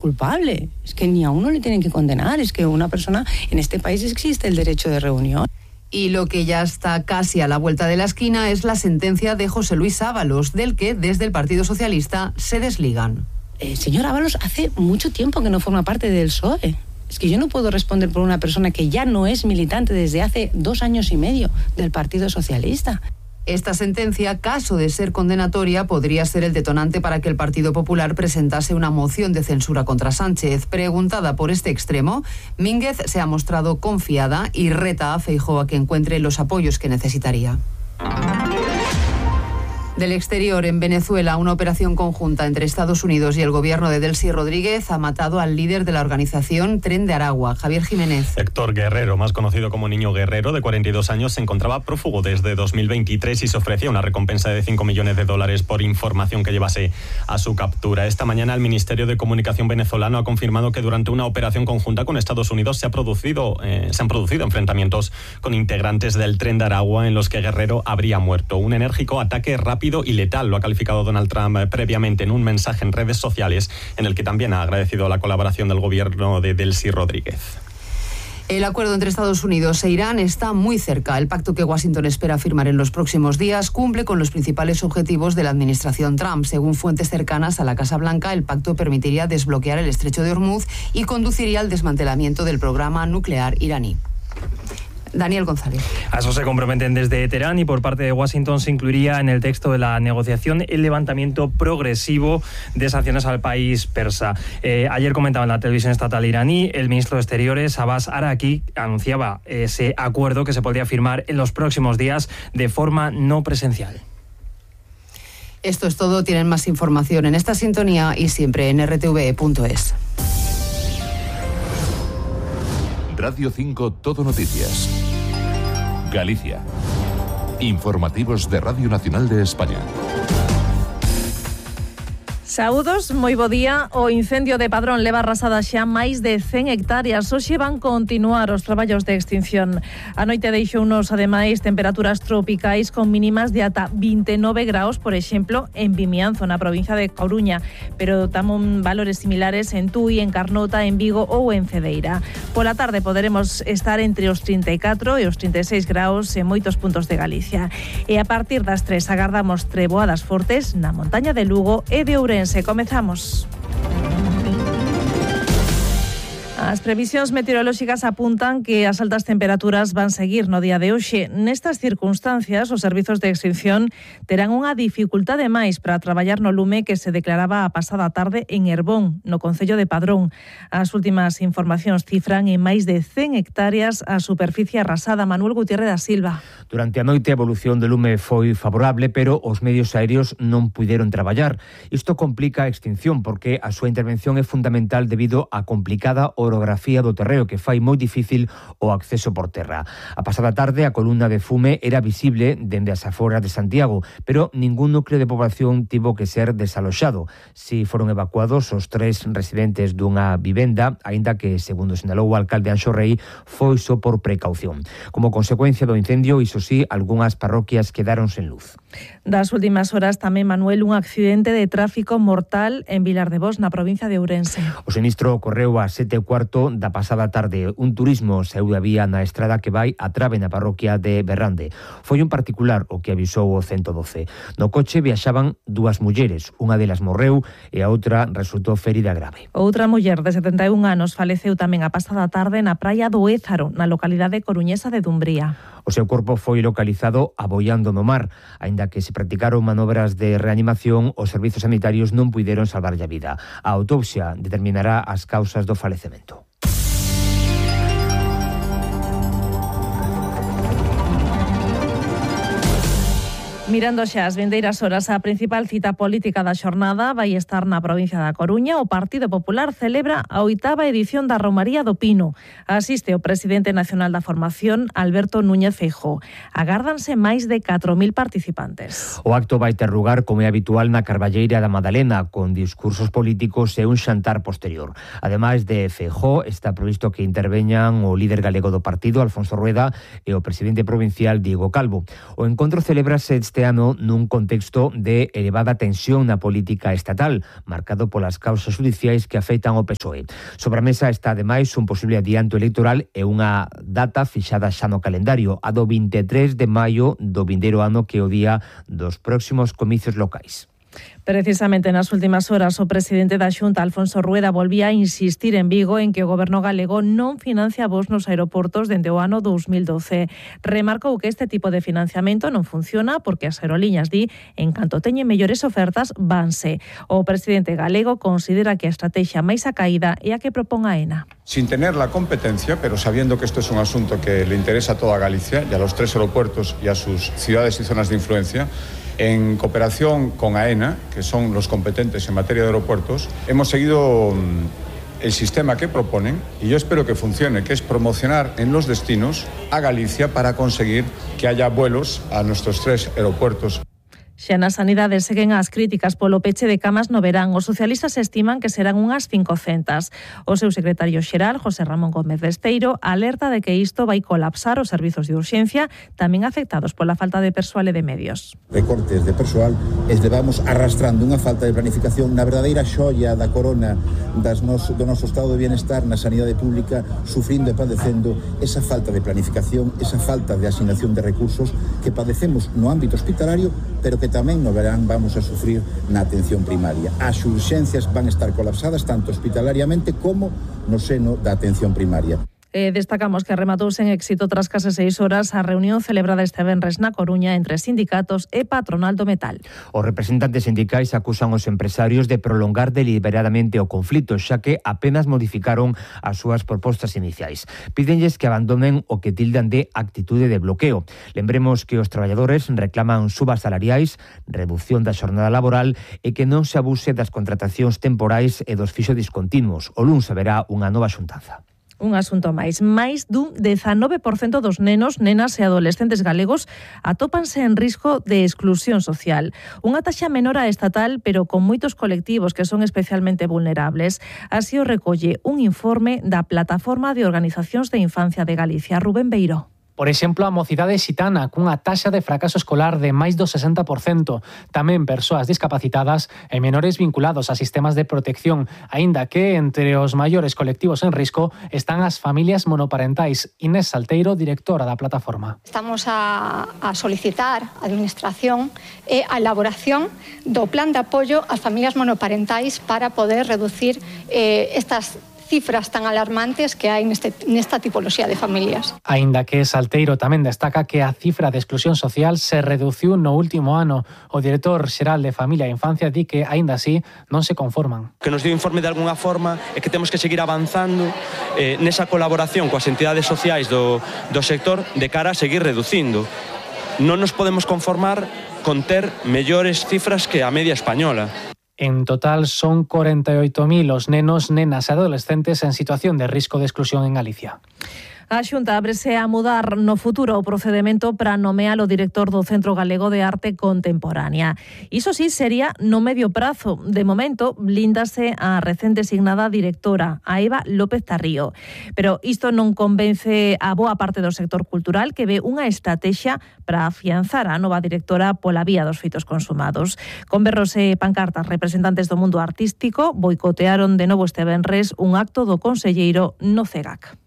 culpable. Es que ni a uno le tienen que condenar, es que una persona, en este país existe el derecho de reunión. Y lo que ya está casi a la vuelta de la esquina es la sentencia de José Luis Ábalos, del que desde el Partido Socialista se desligan. Señor Ábalos hace mucho tiempo que no forma parte del PSOE. Es que yo no puedo responder por una persona que ya no es militante desde hace 2 años y medio del Partido Socialista. Esta sentencia, caso de ser condenatoria, podría ser el detonante para que el Partido Popular presentase una moción de censura contra Sánchez. Preguntada por este extremo, Mínguez se ha mostrado confiada y reta a Feijóo a que encuentre los apoyos que necesitaría. Del exterior, en Venezuela, una operación conjunta entre Estados Unidos y el gobierno de Delcy Rodríguez ha matado al líder de la organización Tren de Aragua, Javier Jiménez. Héctor Guerrero, más conocido como Niño Guerrero, de 42 años, se encontraba prófugo desde 2023 y se ofrecía una recompensa de $5 millones por información que llevase a su captura. Esta mañana el Ministerio de Comunicación venezolano ha confirmado que durante una operación conjunta con Estados Unidos se han producido enfrentamientos con integrantes del Tren de Aragua en los que Guerrero habría muerto. Un enérgico ataque rápido y letal, lo ha calificado Donald Trump previamente en un mensaje en redes sociales en el que también ha agradecido la colaboración del gobierno de Delcy Rodríguez. El acuerdo entre Estados Unidos e Irán está muy cerca. El pacto que Washington espera firmar en los próximos días cumple con los principales objetivos de la administración Trump. Según fuentes cercanas a la Casa Blanca, el pacto permitiría desbloquear el estrecho de Hormuz y conduciría al desmantelamiento del programa nuclear iraní. Daniel González. A eso se comprometen desde Teherán y por parte de Washington se incluiría en el texto de la negociación el levantamiento progresivo de sanciones al país persa. Ayer comentaba en la televisión estatal iraní, el ministro de Exteriores, Abbas Araki, anunciaba ese acuerdo que se podría firmar en los próximos días de forma no presencial. Esto es todo. Tienen más información en esta sintonía y siempre en rtve.es. Radio 5 Todo Noticias. Galicia. Informativos de Radio Nacional de España. Saúdos, moi bo día. O incendio de Padrón leva arrasada xa máis de 100 hectáreas. Hoxe van continuar os traballos de extinción. A noite deixounos, ademais, temperaturas tropicais con mínimas de ata 29 graus, por exemplo, en Vimianzo, na provincia de Coruña, pero tamén valores similares en Tui, en Carnota, en Vigo ou en Cedeira. Pola tarde poderemos estar entre os 34 e os 36 graus en moitos puntos de Galicia. E a partir das 3 agardamos treboadas fortes na montaña de Lugo e de Ourense. Comezamos. As previsións meteorolóxicas apuntan que as altas temperaturas van seguir no día de hoxe. Nestas circunstancias, os servizos de extinción terán unha dificultade máis para traballar no lume que se declaraba a pasada tarde en Herbón, no concello de Padrón. As últimas informacións cifran en máis de 100 hectáreas a superficie arrasada. Manuel Gutiérrez da Silva. Durante a noite a evolución do lume foi favorable, pero os medios aéreos non puideron traballar. Isto complica a extinción porque a súa intervención é fundamental debido á complicada orografía do terreo que fai moi difícil o acceso por terra. A pasada tarde a columna de fume era visible dende as aforas de Santiago, pero ningún núcleo de poboación tivo que ser desaloxado. Si foron evacuados os 3 residentes dunha vivenda, aínda que, segundo sinalou o alcalde Anxo Rei, foi só por precaución. Como consecuencia do incendio, iso sí, algunhas parroquias quedaron sen luz. Das últimas horas tamén, Manuel, un accidente de tráfico mortal en Vilar de Bos, na provincia de Ourense. O sinistro ocorreu a 7:15 da pasada tarde. Un turismo saíu da vía na estrada que vai a Trave na parroquia de Berrande. Foi un particular o que avisou o 112. No coche viaxaban 2 mulleres, unha delas morreu e a outra resultou ferida grave. Outra muller de 71 anos faleceu tamén a pasada tarde na praia do Ézaro, na localidade coruñesa de Dumbría. O seu corpo foi localizado aboiando no mar. Aínda que se practicaron manobras de reanimación, os servizos sanitarios non puideron salvarlle a vida. A autopsia determinará as causas do falecemento. Mirando xa as vindeiras horas, a principal cita política da xornada vai estar na provincia da Coruña. O Partido Popular celebra a 8ª edición da Romaría do Pino. Asiste o presidente nacional da formación, Alberto Núñez Feijóo. Agárdanse máis de 4.000 participantes. O acto vai ter lugar, como é habitual, na Carballeira da Madalena, con discursos políticos e un xantar posterior. Ademais de Feijóo, está previsto que interveñan o líder galego do partido, Alfonso Rueda, e o presidente provincial, Diego Calvo. O encontro celébrase este este ano nun contexto de elevada tensión na política estatal, marcado polas causas judiciais que afectan ao PSOE. Sobre a mesa está ademais un posible adianto electoral e unha data fixada xa no calendario, a do 23 de maio do vindeiro ano, que é o día dos próximos comicios locais. Precisamente nas últimas horas o presidente da Xunta, Alfonso Rueda, volvía a insistir en Vigo en que o goberno galego non financia voos nos aeroportos dende o ano 2012. Remarcou que este tipo de financiamento non funciona porque as aerolíneas, en canto teñen mellores ofertas, vanse. O presidente galego considera que a estrategia máis acaída é a que propón AENA. Sin tener la competencia, pero sabiendo que esto es un asunto que le interesa a toda Galicia y a los 3 aeropuertos y a sus ciudades y zonas de influencia, en cooperación con AENA, que son los competentes en materia de aeropuertos, hemos seguido el sistema que proponen y yo espero que funcione, que es promocionar en los destinos a Galicia para conseguir que haya vuelos a nuestros 3 aeropuertos. Xa na sanidade seguen as críticas polo peche de camas no verán. Os socialistas estiman que serán unhas 500. O seu secretario xeral, José Ramón Gómez Besteiro, alerta de que isto vai colapsar os servizos de urxencia, tamén afectados pola falta de persoal e de medios. Recortes de persoal levamos arrastrando unha falta de planificación na verdadeira xoia da corona do noso estado de bienestar na sanidade pública, sufrindo e padecendo esa falta de planificación, esa falta de asignación de recursos que padecemos no ámbito hospitalario, pero que tamén no verán vamos a sufrir na atención primaria. As urxencias van a estar colapsadas tanto hospitalariamente como no seno da atención primaria. Destacamos que rematouse en éxito tras case 6 horas a reunión celebrada este venres na Coruña entre sindicatos e patronal do metal. Os representantes sindicais acusan os empresarios de prolongar deliberadamente o conflito, xa que apenas modificaron as súas propostas iniciais. Pídenlles que abandonen o que tildan de actitude de bloqueo. Lembremos que os traballadores reclaman subas salariais, reducción da xornada laboral e que non se abuse das contratacións temporais e dos fixos discontinuos. O luns haberá unha nova xuntanza. Un asunto máis dun 19% dos nenos, nenas e adolescentes galegos atópanse en risco de exclusión social. Unha taxa menor a estatal, pero con moitos colectivos que son especialmente vulnerables. Así o recolle un informe da Plataforma de Organizacións de Infancia de Galicia, Rubén Beiró. Por exemplo, a mocidade xitana, cunha taxa de fracaso escolar de máis do 60%. Tamén persoas discapacitadas e menores vinculados a sistemas de protección, aínda que entre os maiores colectivos en risco están as familias monoparentais. Inés Salteiro, directora da plataforma. Estamos a solicitar a Administración a elaboración do plan de apoio ás familias monoparentais para poder reducir estas cifras tan alarmantes que hai nesta tipoloxía de familias. Aínda que Salteiro tamén destaca que a cifra de exclusión social se reduciu no último ano. O director xeral de Familia e Infancia di que, aínda así, non se conforman. Que nos dio informe de algunha forma é que temos que seguir avanzando nesa colaboración coas entidades sociais do sector de cara a seguir reducindo. Non nos podemos conformar con ter mellores cifras que a media española. En total son 48.000 os nenos, nenas e adolescentes en situación de risco de exclusión en Galicia. A Xunta ábrese a mudar no futuro o procedemento para nomear o director do Centro Galego de Arte Contemporánea. Iso sí sería no medio prazo. De momento, blíndase a recén designada directora, a Eva López Tarrío. Pero isto non convence a boa parte do sector cultural, que ve unha estrategia para afianzar a nova directora pola vía dos feitos consumados. Con berros e pancartas, representantes do mundo artístico boicotearon de novo este venres un acto do conselleiro no CEGAC.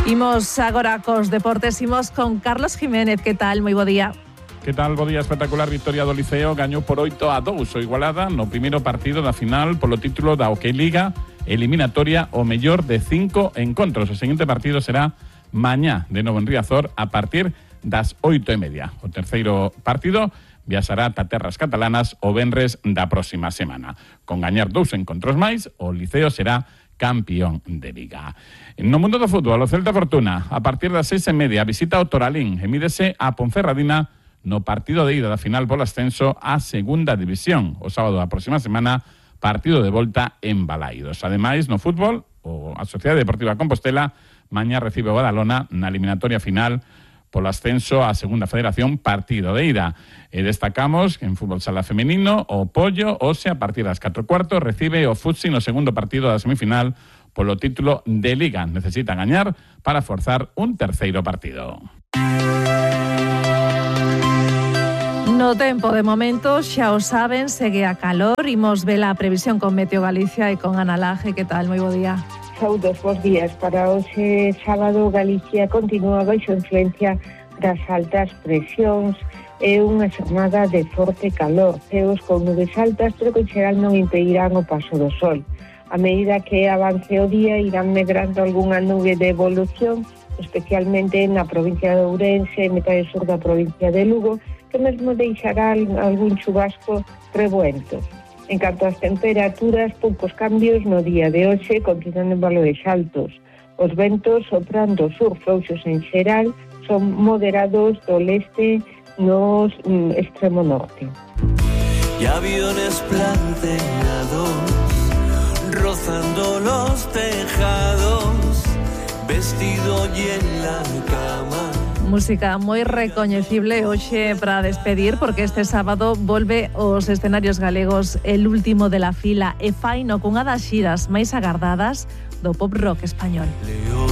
Imos agora cos deportes, imos con Carlos Jiménez. Que tal? Moi bo día. Que tal? Bo día, espectacular victoria do Liceo, gañou por 8-2 o Igualada no primeiro partido da final polo título da OK Liga, eliminatoria o mellor de 5 encontros. O seguinte partido será mañá de novo en Riazor a partir das 8:30. O terceiro partido viaxará ata terras catalanas o venres da próxima semana. Con gañar 2 encontros máis, o Liceo será campeón de Liga. No mundo do fútbol, o Celta Fortuna, a partir das 6:30, visita o Toralín e mídese a Ponferradina no partido de ida da final polo ascenso á segunda división. O sábado da próxima semana, partido de volta en Balaidos. Ademais, no fútbol, a Sociedade Deportiva Compostela mañá recibe o Badalona na eliminatoria final polo ascenso á segunda federación, partido de ida. E destacamos que en fútbol sala femenino o Pollo, hoxe a partir das 4:15, recibe o Futsi no segundo partido da semifinal polo título de Liga. Necesita gañar para forzar un terceiro partido. No tempo de momento, xa o saben, segue a calor. Imos ver a previsión con Meteo Galicia e con Ana Laje. Que tal? Moi bo día. Saúdos, bons días. Para hoxe sábado, Galicia continúa baixo influencia das altas presións. É unha xornada de forte calor. Ceos con nubes altas, pero que en xeral non impedirán o paso do sol. A medida que avance o día, irán medrando algunha nube de evolución, especialmente na provincia de Ourense e metade sur da provincia de Lugo, que mesmo deixará algún chubasco revuelto. En canto ás temperaturas, poucos cambios no día de hoxe, continuando en valores altos. Os ventos soprando sur frouxos en xeral son moderados do leste no extremo norte. Y aviones planteados rozando los tejados, vestido y en la cama. Música moi recoñecible hoxe para despedir, porque este sábado volve aos escenarios galegos el último de la fila e faino cunha das xiras máis agardadas do pop rock español.